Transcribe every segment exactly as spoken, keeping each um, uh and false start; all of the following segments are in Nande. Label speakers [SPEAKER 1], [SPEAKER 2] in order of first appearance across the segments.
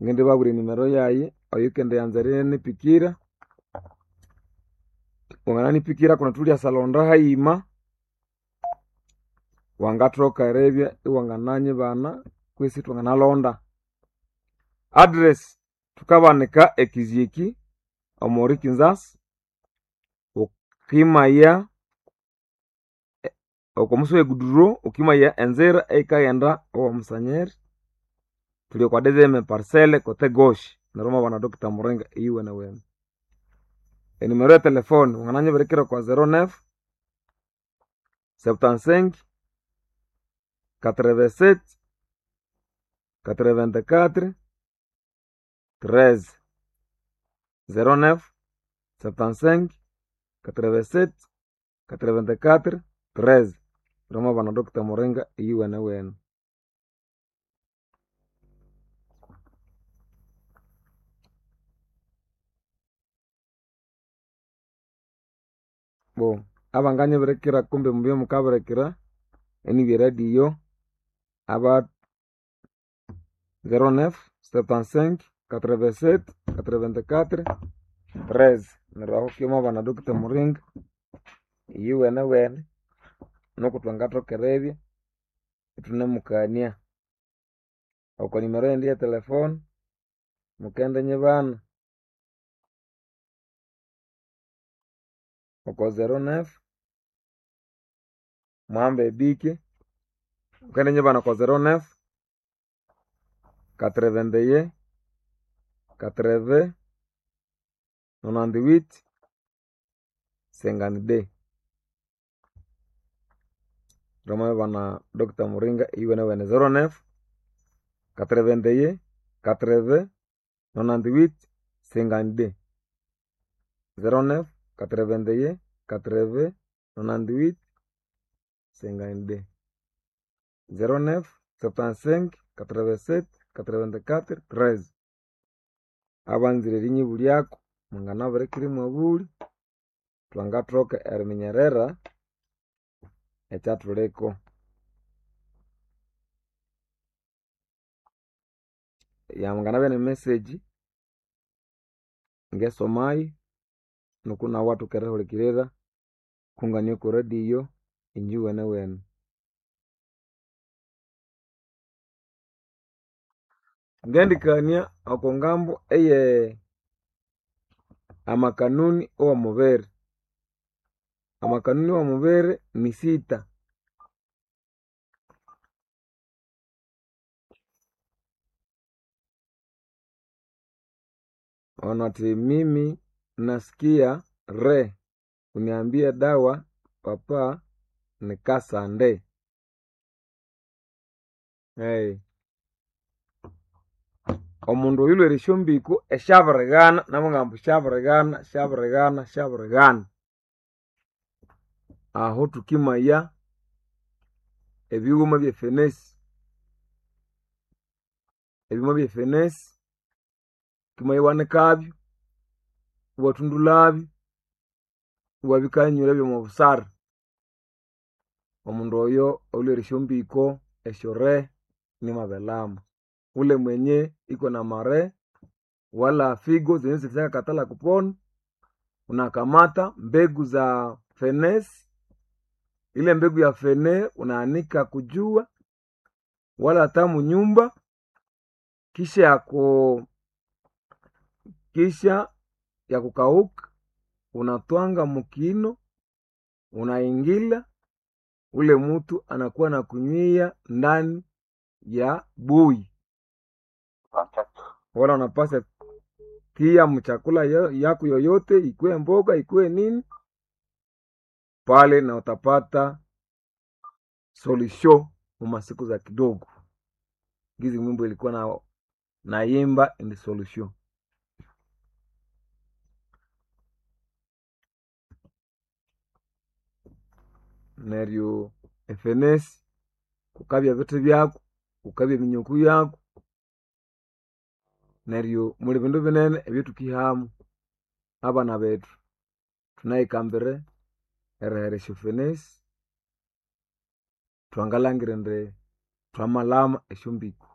[SPEAKER 1] Ngendibabwira enimero yayi oyukendiyanza erinipikira. Wangananipikira kundi thulyasa hayima, wangathoka eribya iwangananyibana kwisi thwanganalonda. Address thukabanika eKiziki omuri Kinzasa, wukimaya oko musi we guduro wukimaya enzira eyikaghenda owa Musanyeri, thuli okwa deuxième parcelle kote gauche neryo wamabana Doctor Muringa eyuwenewene. Enimero ye telefone wangananyibirikira okwa zero neuf, septante-cinq, quatre-vingt-sept, quatre-vingt-quatre, treize. Zero neuf, septante-cinq, quatre-vingt-sept, quatre-vingt-quatre, treize. Neryo wamabana Doctor Muringa eyuwenewene. Bo abanganyibirikira kumbe mubye mukabirikira enibya eradio aba zero neuf, septante-cinq, quatre-vingt-sept, quatre-vingt-quatre, treize. Neryo aho wamabana Doctor Muringa eyuwenewene nuku thwangathoka eribya ithunemukania. Oko nimero yindi ye telefone mukendinyibana oko zero neuf, muhambe ebike, mukendinyibana oko zero neuf, quatre-vingt-un, quatre-vingts, nonante-huit, cinquante-deux. Wamabana Doctor Muringa eyuwenewene zero neuf, quatre-vingt-un, quatre-vingts, nonante-huit, cinquante-deux. Zero neuf, quatre-vingt-un, quatre-vingts, nonante-huit, cinquante-deux. Zero neuf, septante-cinq, quatre-vingt-sept, quatre-vingt-quatre, treize. Abanzire erinyibulyako mwanganabirikira imwabulya, thwangathoka eriminyerera ekyathuliko. Yanganabya ne message ngesomayo nuku nawu iwathoka erihulikirira kungania oko radio inje iwenewene. Ngendikania oko ngambo eye amakanuni owo mubiri. Amakanuni owo mubiri nisita. Ono athi mimi nasikia re uniambie dawa papa nikasande. Hey. Omundu oyu olhwere esyombiko esyabirighana nabughambu syabirighana syabirighana syabirighana. Aho thukimaya ebighuma byefenesi, ebighuma byefenesi wukimaya iwanikabyo, iwathundulhabyo, iwabikanyura byomo busara. Omundu oyo olhwere esyombiko esyo re nimabelama. Ule mwenye iko na mare wala figo zenye zilishakatala kupona, unakamata mbegu za fenesi, ile mbegu ya fene unaanika kujua wala hata munyumba, kisha yako kisha ya kukauka unatwanga mukino unaingila, ule mutu anakuwa na kunywia ndani ya bui, wala unapasa tia mchakula yako yoyote, ikuwe mboga ikuwe nini pale, na utapata solution mumasiku za kidogo. Gizi mwimbo ilikuwa na naimba ni solution. Neryo efenesi kukabya bithi byaku, kukabya eminyuku yaku, neryo muli bindu binene ebyathukihamu abana bethu thunayikambire erihera esyofenesi thwangalhangira indi thwamalhama esyombiko.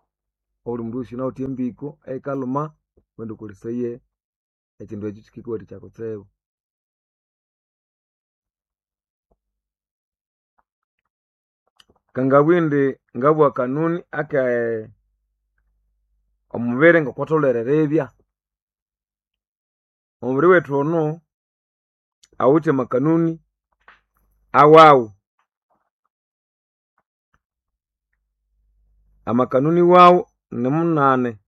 [SPEAKER 1] Obuli mundu wosi yunawithe embiko eyikalhuma wende wukolesaye ekyindu ekyo kyikikuwathikya kutsibu. Ngangabugha indi ngabugha akanuni ake omubiri ngokwatholere eribya. Omubiri wethu ono awithe amakanuni awawu. Amakanuni wawu nimunane.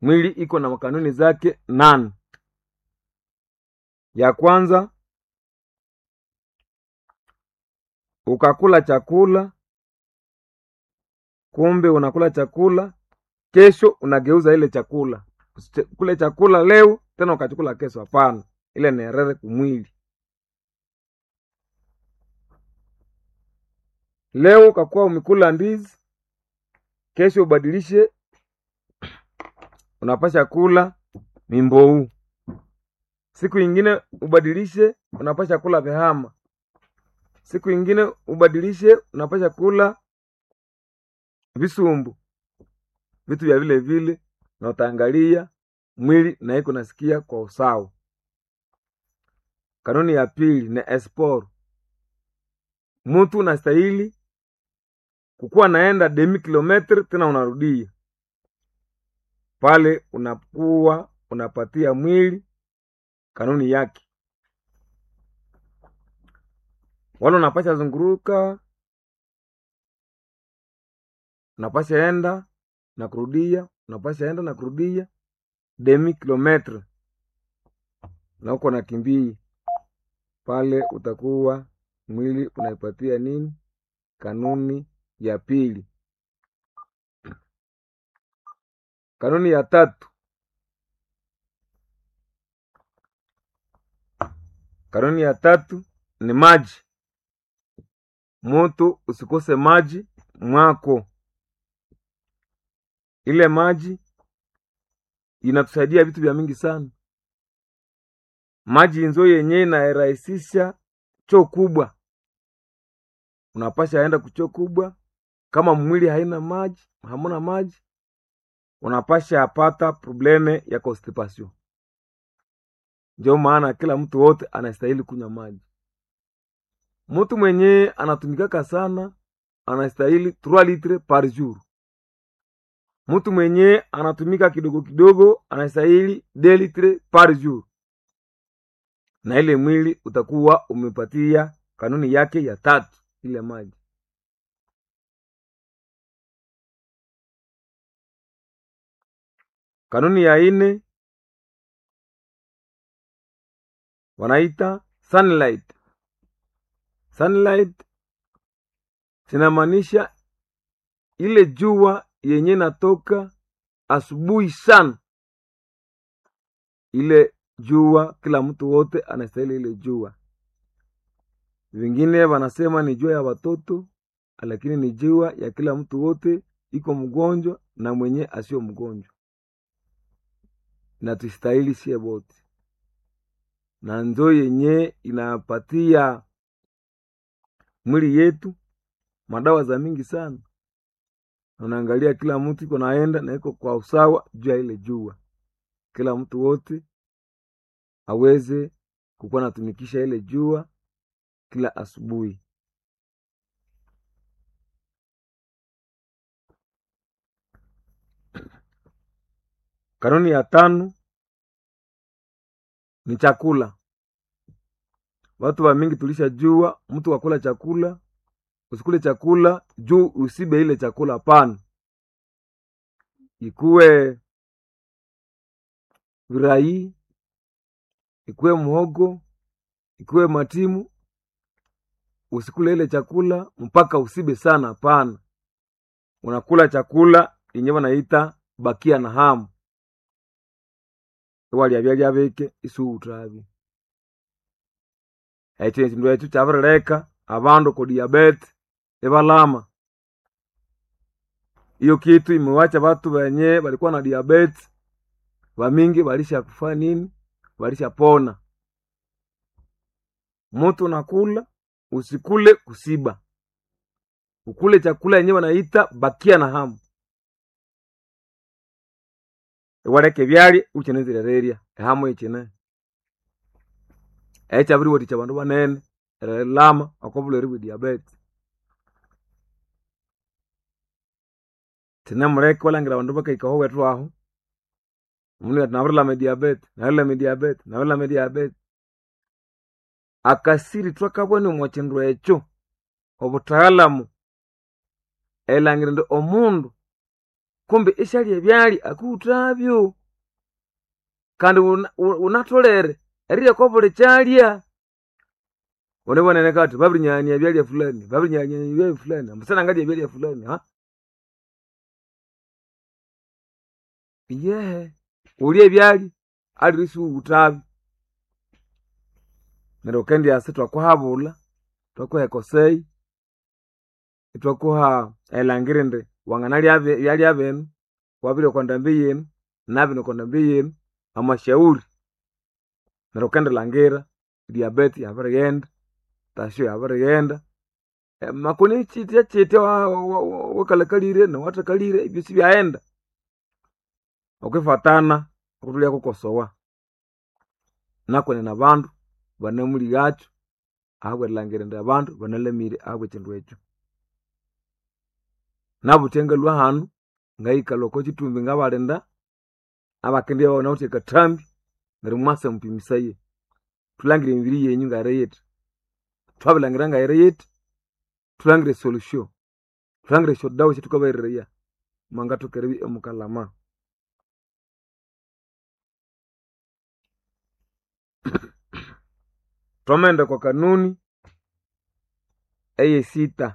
[SPEAKER 1] Mwili iko na makanuni zake nane. Ya kwanza, ukakula chakula kumbe unakula chakula kesho unageuza ile chakula. Usikule chakula leo tena ukachukula kesho, hapana. Ile ni erere kumwili. Leo ukakuwa umekula ndizi, kesho ubadilishe, unapasha kula mimbou. Siku ingine ubadilishe, unapasha kula vihama. Siku ingine ubadilishe, unapasha kula visumbu, vitu vya vile vile, na utaangalia mwili na iko nasikia kwa usawa. Kanuni ya pili ni esport. Mutu unastahili kukuwa naenda demi kilometre tena unarudia pale, unakuwa unapatia mwili kanuni yake. Wala unapasha zunguruka, unapasha enda na kurudia, unapasha enda na kurudia demi kilometre, na uko nakimbia pale, utakuwa mwili unaipatia nini? Kanuni ya pili. Kanuni ya tatu, kanuni ya tatu ni maji. Mutu usikose maji mwako. Ile maji inatusaidia vitu vya mingi sana. Maji nzo yenyewe inarahisisha choo kubwa, unapasha enda kuchoo kubwa. Kama mwili haina maji, hamuna maji, unapasha apata probleme ya constipation. Ndio maana kila mtu wote anastahili kunywa maji. Mtu mwenye anatumikaka sana anastahili trois litres par jour. Mtu mwenye anatumika kidogo kidogo anastahili deux litres par jour, na ile mwili utakuwa umepatia kanuni yake ya tatu, ile maji. Kanuni ya ine wanaita sunlight. Sunlight zinamaanisha ile jua yenye natoka asubuhi sana. Ile jua kila mtu wote anastahili ile jua. Wengine wanasema ni jua ya watoto, lakini ni jua ya kila mtu wote, iko mgonjwa na mwenye asio mgonjwa, na tustahili sie wote, na nzo yenye inapatia mwili yetu madawa za mingi sana. Unaangalia kila mtu iko naenda na iko kwa usawa juu ya ile jua, kila mtu wote aweze kukuwa natumikisha ile jua kila asubuhi. Kanuni ya tano ni chakula. Watu wa mingi tulishajua mtu wakula chakula, usikule chakula juu usibe ile chakula, hapana. Ikuwe virai, ikuwe muhogo, ikuwe matimu, usikule ile chakula mpaka usibe sana, hapana. Unakula chakula yenye wanaita bakia na hamu, iwalya byalya bike isuutabi ekyo ekindu ekyo kyabirileka abandu ku diabete ibalama. Iyo kitu imewacha batu benye balikuwa na diabete bamingi balisha kufa nini, balishapona. Mutu nakula usikule kusiba, ukule chakula yenye wanaita bakia na hamu. Iwaleka ebyalya iwukyanzire erirya ehamo ikyine. Ekyabiriwathikya abandu banene erilama oko bulhwere bwe diabete. Kyinemuleka iwalhangira abandu bakahika aho ewethu aho, omundu athi nabirilama ediabete, nabirilama ediabete, nabirilama ediabete. Akasiri thwakabana omwa kindu ekyo, obuthagalamu erilhangira indi omundu kumbe isyalya ebyalya akiwuthabyo kandi wunatholere erirya okwa buli kyalya. Wunibonene athi babirinyaghania ebyalya fulani, babirinyaghania ebyalya fulani, ambu sinangalya ebyalya fulani haa. Iyehe, wulye ebyalya aliwe isiwuwuthabyo. Neryo wukendyasa ithwakuhabulha, ithwakuha ekosei, ithwakuha erilhangira indi wanganalya ebyalya binu, wabirya okwa ndambi yinu, nabinu okwa ndambi yinu, amasyauri. Neryo wukendilhangira diabete yabirighenda, tasyo yabirighenda, makoni kyitya kyitya wakalhakalire nowathakalire ebyosi ibyaghenda okwifatana okuthulyakakosowa. Nakwenene abandu banamulighakyo ahabw'erilhangira indi abandu banalamire ahabw'ekyindu ekyo. Nabuthya ngalhwa hanu ngayikalha oko kyithumbi ngabalinda abakendibya banawithe akathambi neryo mwasa mupimisaye. Thulhangire emibiri yenyu ngayiri yithi, thwabirilhangira ngayiri yithi, thulhangire esolution, thulhangire esyodawa esyathukabahereraya mwangathoka eribya imukalama. Thwamaghenda okwa kanuni eyesitha.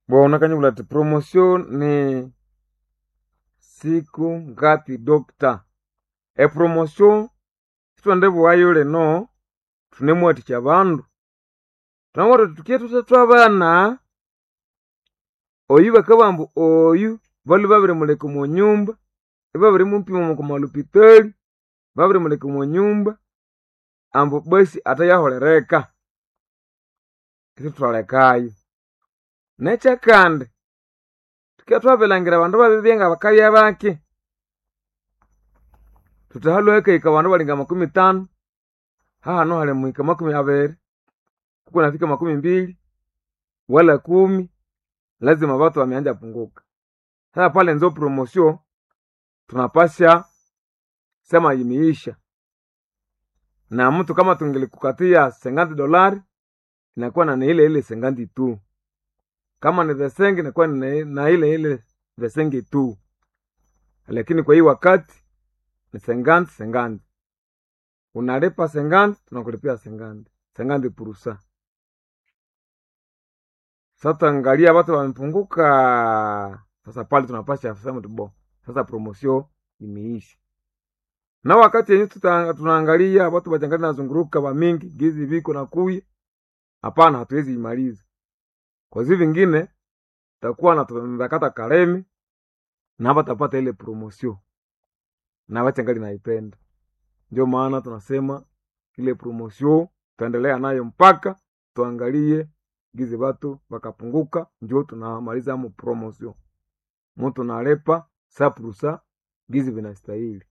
[SPEAKER 1] Bona akanyibwira athi promotion ni siku ngapi doctor? Epromotion sithwendibughayo lino, thunemuwathikya abandu. Thunamubwira thuthi thuke thuthe thwabana, oyu bakabugha ambu oyu balhwe babirimuleka omo nyumba, ibabirimupima okwa malhopitali, babirimuleka omo nyumba, ambu basi athayaholera eka. Isithwalekayo. Nekyakandi, thukibya thwabirilhangira abandu babiribya ngabakabya baki, thuthi halhwe hakahika abandu abalinga makumi ithanu, hahanu hali muhika makumi abiri, kukunafika makumi mbili, wala kumi, lazima batu bameanza punguka. Sasa pale nzo promotion tunapasha sema imeisha. Na mtu kama tungelikukatia senganti dolari inakuwa na ile ile senganti tu. Kama ni vesenge inakuwa ni na ile ile vesenge tu. Lakini kwa hii wakati ni senganti senganti. Unalipa senganti tunakulipia senganti. Senganti purusa. Sasa angalia watu wamepunguka. Sasa pale tunapasha sema tu bo. Sasa promotion imeisha. Na wakati yenyewe tunaangalia watu wachangali nazunguruka wa mingi gizi viko na kuya, hapana, hatuwezi imaliza. Kwa hizo vingine takuwa na tunakata kalemi na hapa tapata ile promotion na wachangali naipenda. Ndio maana tunasema ile promotion tuendelea nayo mpaka tuangalie gizi watu wakapunguka, ndio tunamaliza mu promotion. Mtu nalepa saprusa gizi vinastahili.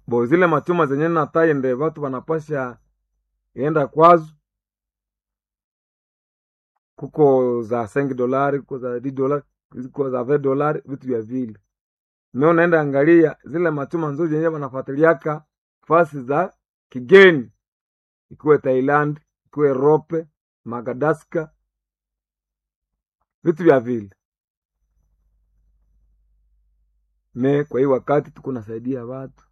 [SPEAKER 1] Bo zile machuma zenye nataye nde watu wanapasha enda kwazo, kuko za sengi dolari, kuko za di dolari, kuko za ve dolari, vitu vya vile. Mimi naenda angalia zile machuma nzuri zenye wanafuatiliaka fasi za kigeni, ikiwe Thailand, ikiwe Europe, Madagascar, vitu vya vile. Me kwa hii wakati tuko nasaidia watu.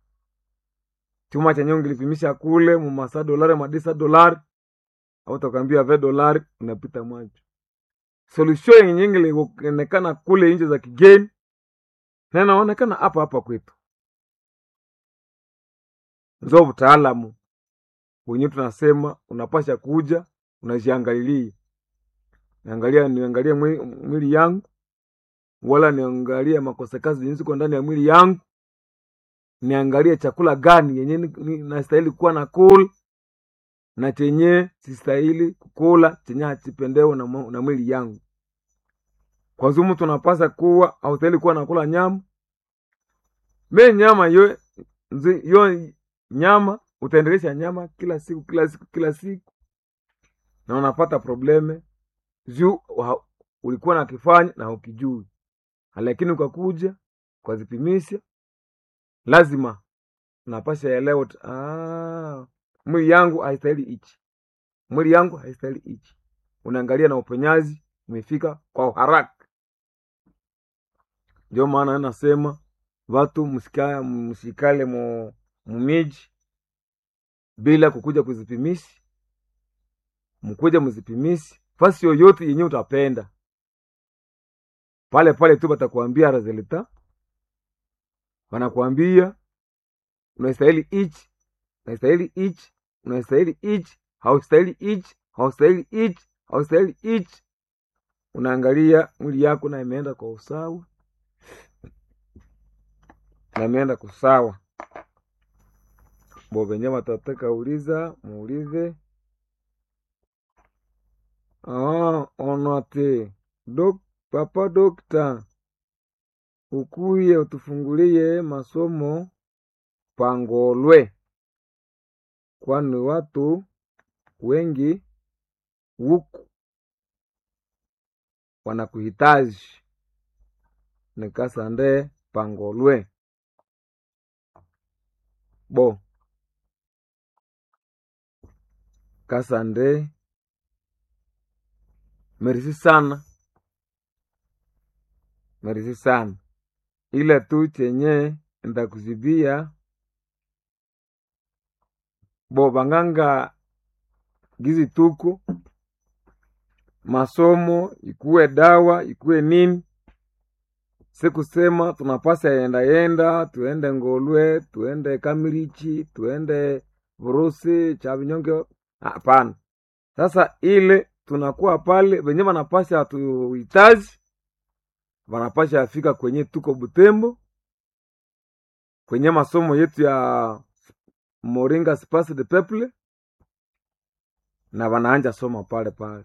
[SPEAKER 1] Chuma chenye ungelipimisha kule mumasa dolari madisa dolari au utakwambia ve dolari unapita mwacho. Solution yenye ingilionekana kule nje za kigeni na inaonekana hapa hapa kwetu. Nzo utaalamu wenyewe tunasema unapasha kuja unajiangalilia. Niangalia niangalie mwili yangu wala niangalie makosa kazi jinsi kwa ndani ya mwili yangu. Niangalie chakula gani yenye nastahili kuwa na kula. na chenye sistahili kukula chenye hachipendewe na, na mwili yangu. Kwa zumu tunapasa kuwa haustahili kuwa nakula nyama me nyama yo, nzi, yo nyama utaendelesha nyama kila siku kila siku kila siku na unapata probleme juu ulikuwa nakifanya na ukijui, lakini ukakuja ukazipimisha, lazima unapasha elewa, ah, mwili yangu haistahili hichi, mwili yangu haistahili hichi. Unaangalia na uponyaji umefika kwa haraka. Ndio maana nasema watu msika, msikale mu mumiji bila kukuja kuzipimisha, mkuja mzipimisi fasi yoyote yenye utapenda pale pale tu batakuambia resulta, wanakuambia unastahili hichi, unastahili hichi, unastahili hichi, haustahili hichi, haustahili hichi, haustahili hichi. Unaangalia mwili yako na imeenda kwa usawa, na imeenda kusawa. Bo venye watataka uliza muulize. Ah, onate dok, papa dokta ukuye utufungulie masomo pangolwe, kwani watu wengi huku wanakuhitaji. Nikasande pangolwe bo kasande merisi sana, merisi sana, ila tu chenye ntakuzibia bo banganga gizi tuko masomo ikuwe dawa ikuwe nini, sikusema tunapasa yenda yenda tuende Ngolwe tuende Kamirichi tuende Vurusi Chavinyonge, hapana. Sasa ile tunakuwa pale wenye wanapasha hatuhitaji, wanapasha afika kwenye tuko Butembo kwenye masomo yetu ya Moringa Space de Peuple, na wanaanja soma pale pale.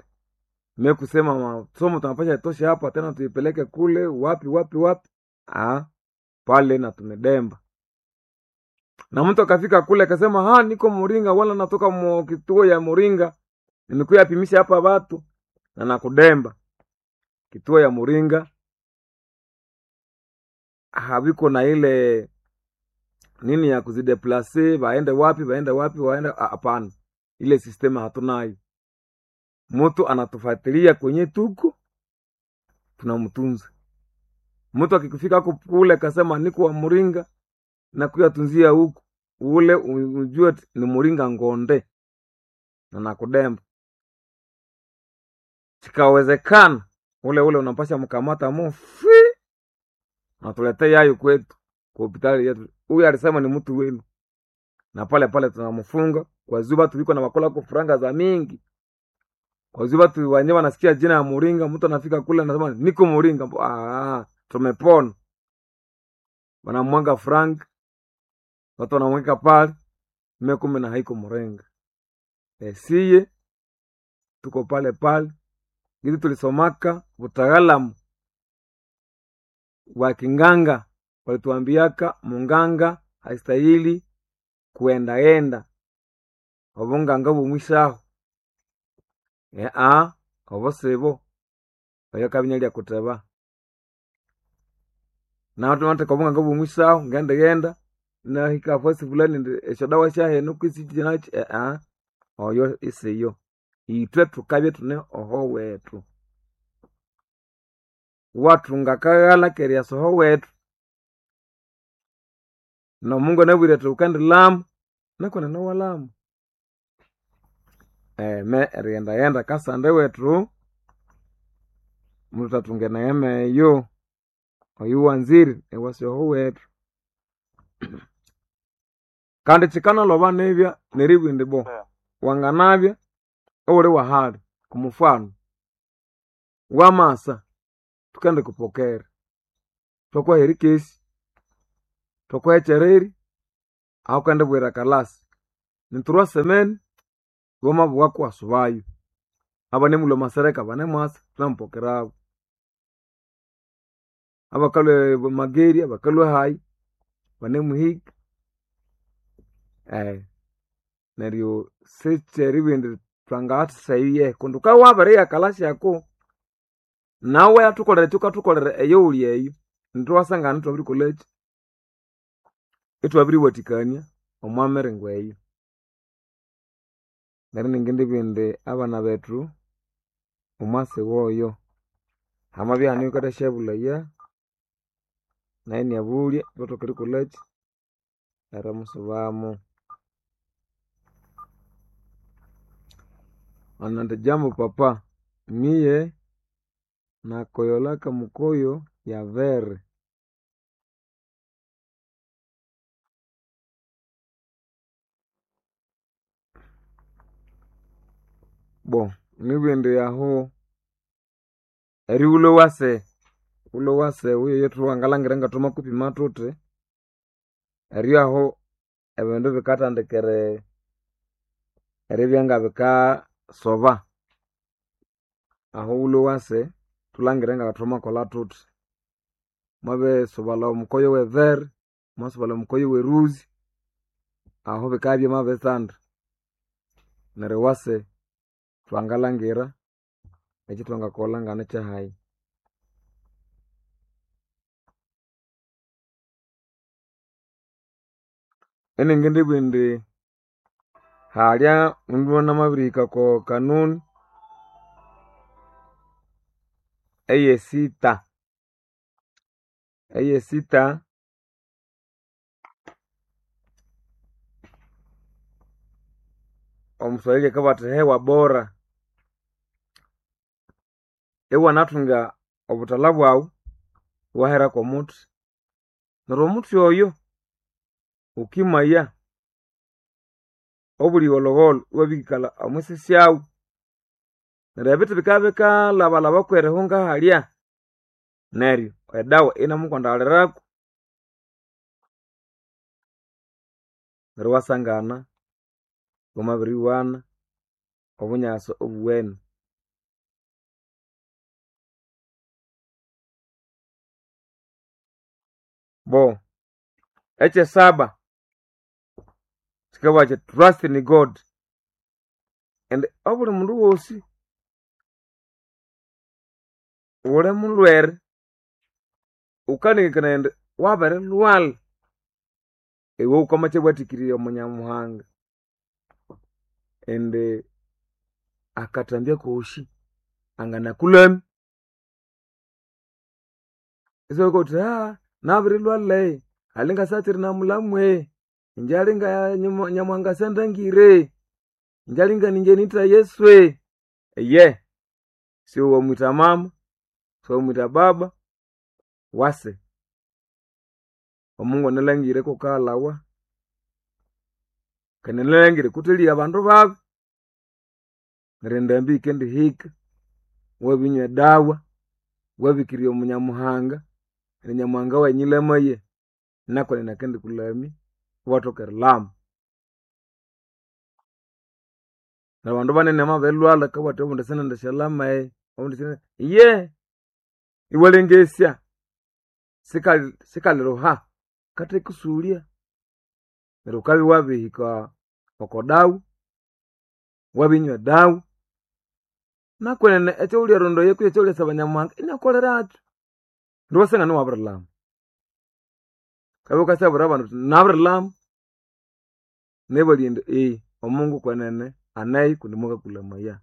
[SPEAKER 1] Me kusema masomo tunapasha itoshe hapa tena tuipeleke kule wapi wapi wapi, ah, pale na tumedemba. Na mtu akafika kule akasema ha, niko Moringa wala natoka mo kituo ya Moringa nimekuya pimisha hapa watu na nakudemba kituo ya Moringa haviko na ile nini ya kuzideplase waende wapi waende wapi waende, hapana, ile sistema hatunayo. Mtu anatufuatilia kwenye tuko tunamtunza. Mtu akikufika huko kule akasema niko wa Moringa na kuyatunzia huku ule, ujue ni Moringa ngonde na nakudemba. Chikawezekana ule ule unapasha mkamata mufi natuletea yayo kwetu kwa hospitali yetu, huyu alisema ni mtu wenu, na pale pale tunamfunga kwa zuba tuliko na wakola kwa franga za mingi kwa zuba tu wenyewe wanasikia jina ya Muringa, mtu anafika kule anasema niko Muringa, ah, tumepona. Wanamwanga frank, watu wanamweka pale mimi, kumbe na haiko Muringa. E, siye tuko pale pale ili tulisomaka utaalamu wa kinganga, walituambiaka munganga haistahili kuendaenda obunganga bumwisaho ea obo sibo oyo kabinya kuteba natumate obunganga bumwisaho ngendagenda nahika fasi fulani esyo dawa syahenu kwisi nachi ea oyo isiyo itwe tukabye tune oho wetu watunga kaghala keria soho wetu na Mungu anabwire ati ukandi lamu nakona nowalamu eme erighenda kasande wetu mututatunga neema eyo oyu wanzire ewasoho wetu kandi kikanalhoba nibya neribwa indi bo wanganabya iwuli wahali kumufano wamasa tukendikupokera thwakuha erikesi thwakuha ekyereri ahu ukendibwira kalasi niturwa semeni Wamabugha kwasubayo. Abanemulwa masereka banemwasa tunamupokerabo. Abakalwe Mageria bakalwe hayi banemuhika. Eh, neryo sikyeribindi twangathasyaye kundi wukabya wabiriyakalhasyako nawe athukolere ekyukathukolera eyo wuli eyo nithuwasangana ithwabirikolhaki ithwabiriwathikania omwa miringo eyo. Neryo ningindibugha indi abana bethu omwasi woyo hamabya ihane oyukathasyabulhaya nayu inabulya ithwathoka erikolhaki erimusubamu. Indi jambo papa, miye nakoyolaka mukoyo yavere. Bo nibugha indi ahu erighulha wase wulwe wase oyo thwangalhangira ngathwamakupima thuthi eryo ahu ebindu bikathandika eri eribya ngabikasoba ahu wulwe wase thulhangire ngathwamakolha thuthi mwabisubalha omukoyo wevere mwasubalha omukoyo weruzi ahu bikabya byamabitsanda neryo wase thwangalhangira ekyithwangakolha nganikyahayi. Iningindibugha indi halya mundu namabirihika oko kanuni eyesita eyesita omuswahili akabugha athi hewa bora iwanathunga obuthalha bwaghu iwahera kwomuthi neryo omuthi oyo wukimaya obuli gholhogholho iwabikalha omwisi syaghu neryo ebithi bikabya bikalhabalhaba kwerihunga halya neryo edawa inamukwandalirako neryo iwasangana wamabiriwana obunyasi obuwene. Bo ekyesaba kikabugha kyithi trust in God indi obuli mundu wosi wuli mulhwere wukanengekanaya indi wabirilhwalha iwe wukamakyawathikirya omunyamuhanga indi akathambya kosi anganakulhamya isiwabugha wuthi nabirilhwalha alinga sakyiri namulhamwe inje alinga nyamuhanga syandangire inje alinga ninje nitha Yesu iye siwamwitha mama siwamwitha baba wase omungu analhangire kukaghalhawa kandi analhangire kutheligha abandu babi neryo endambi yikendihika wabinywa edawa wabikirirya omunyamuhanga neryo nyamuhanga wanyilhamaye nakwenene akendikulhamya iwathoka erilhama. Neryo abandu banene bamabirilhwalha bakabugha bathi obundi sinendisyalyama obundi sinende iye iwalengesya sikali sikaliruha kathekusulya neryo wukabya wabirihika oko dawa wabinywa edawa nakwenene ekyawulyarondoya kutse ekyawulyasaba nyamuhanga inyakukolerakyo neryo iwasangana iwabirilhama. Wukabya wukasyabwira abandu wuthi nabirilhama nebalya indi eghe omungu kwenene aneyo kundi mwakakulhamaya.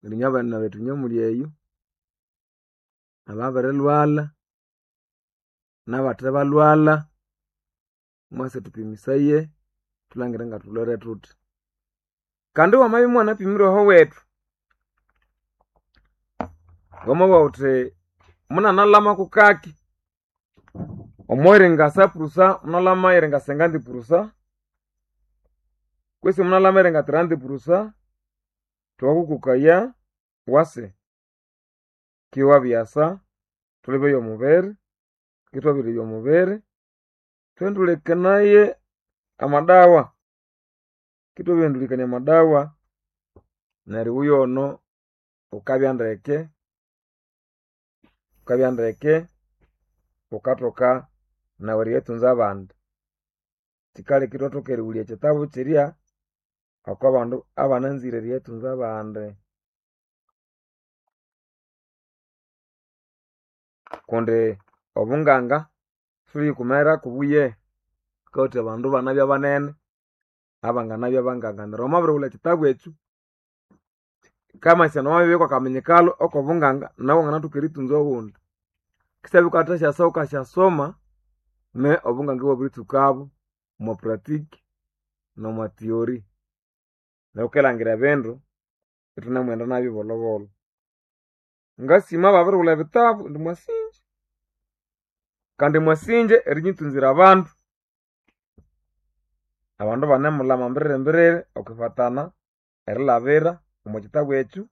[SPEAKER 1] Neryo inywe abana bethu inywe muli eyo ababirilhwalha nabathebalhwalha mwase thupimisaye thulhangire ngathulhwere thuthi. Kandi wamabya imuwanapimire ahowethu wamabugha wuthi munanalhama kukaki omwiringa sa purusa munalhama iringa senganti purusa kwesi munalhama iringa tiranti purusa thwakukukaya wase kiwabyasa thulhibeya omubiri kithwabiribya omubiri thwendulekanaye amadawa. Kitwabirihendũlĩkania amadawa neryo iwe oyono wukabya ndeke, wukabya ndeke wukathoka nawe eriyathunza abandi. Kyikaleka ithwathoka erighulya ekyitabu kyirya oko bandu abananzire eriyathunza abandi. Kundi obunganga siwuliyikumirako buye, bukawatha abandu ibanabya banene abanganabya banganga. Neryo wamabirighulha ekyitabu ekyo, kyikamanyisaya indi wamabibya kwakaminyikalo okobunganga nawe wanganathoka erithunza owundi. Kisyabya wukathasyasa wukasyasoma ne obunganga iwabiritsukabo omwa pratique nomwa theory. Neryo wukilangira ebindu ithunemughenda nabyo bolhobolho. Ngasima ababirighulha ebitabu indi mwasinja kandi mwasinja erinyithunzira abandu. Abandu ibanemulhama mbiriri mbiriri okwifatana erilhabira omwa kyitabu ekyo.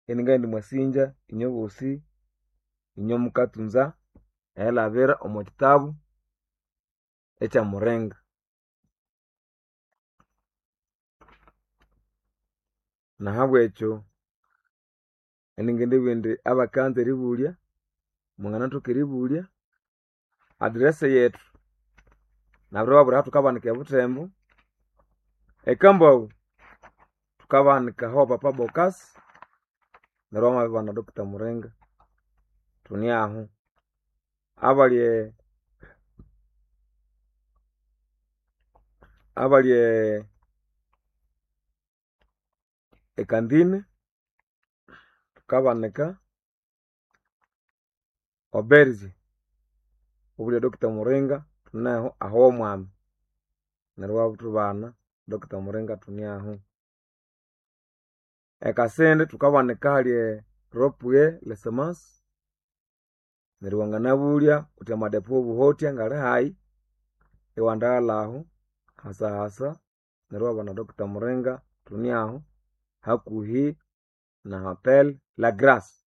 [SPEAKER 1] Iningabugha indi mwasinja inywe bosi inywe mukathunza erilhabira omwa kyitabu ekya Muringa. Nahabwekyo iningindibugha indi abakanza eribulya mwanganathoka eribulya address yethu nabiribabwira ahathukabanika eButhembo, eKambaghu thukabanika aho Papa Bokasi neryo wamabibana Doctor Muringa thune aho. Abali e abali e eKandine thukabanika Oberge wabulya Doctor Muringa thuneho aho womwami neryo iwathubana Doctor Muringa thune aho. EKasindi thukabanika ahali e Ropue lesemasi neryo wanganabulya wuthi amadepo wobuhotya ngali hayi iwandaghalha aho hasahasa neryo iwabana Doctor Muringa thune aho hakuhi na hotel La Grace.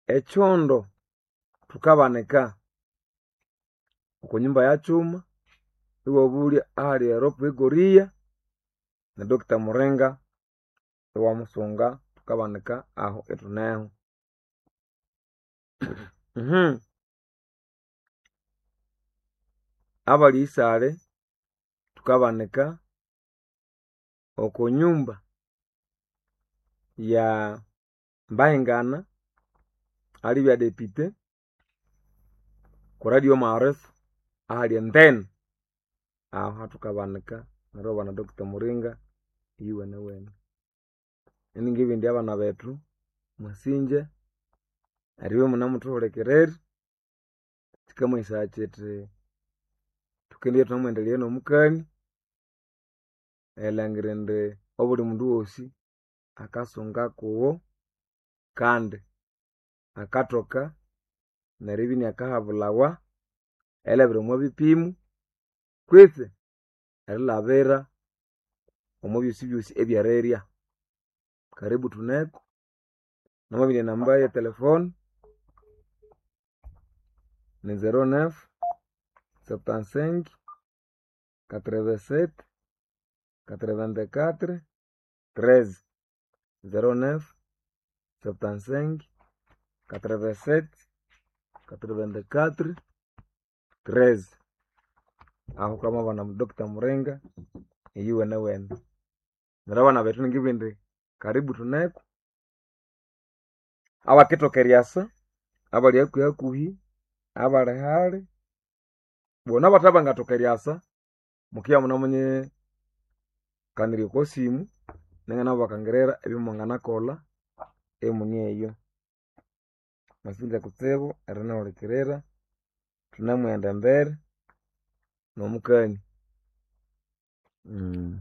[SPEAKER 1] Ekyondo thukabanika oko nyumba ya kyuma iwabulya ahali eropue Goria ne Doctor Muringa iwamusunga thukabanika aho ithuneho. Abali isale thukabanika oko nyumba ya Mbahingana alibya depute ku radio maarifa ahali entene aho hathukabanika neryo iwabana Doctor Muringa iyuwenewene. Iningibugha indi abana bethu mwasinja eribya imunemuthuhulikirira kyikamanyisaya kyithi thukendibya ithunemwendelea nomukania erilhangira indi obuli mundu wosi akasunga kuwo kandi akathoka neribya inakahabulhawa erilhabira omwa bipimo kwitsi erilhabira omwa byosibyosi ebyerirya. Karibu thuneko namabirya enamba ye telephone ni zero neuf, septante-cinq, quatre-vingt-sept, quatre-vingt-quatre, treize. Zero neuf, septante-cinq, quatre-vingt-sept, quatre-vingt-quatre, treize. Aho wukamabana Doctor Muringa iyuwenewene. Neryo abana bethu ningibugha indi karibu thuneko abakithoka eryasa, abali hakuhi hakuhi, abali hali, bona abathe bangathoka eryasa mukibya imunemunyikanirya okwa simu ninganabakangira ebyomwanganakolha imune eyo. Mwasinja kutsibu erinihulikirira thunemughenda embere nomukani.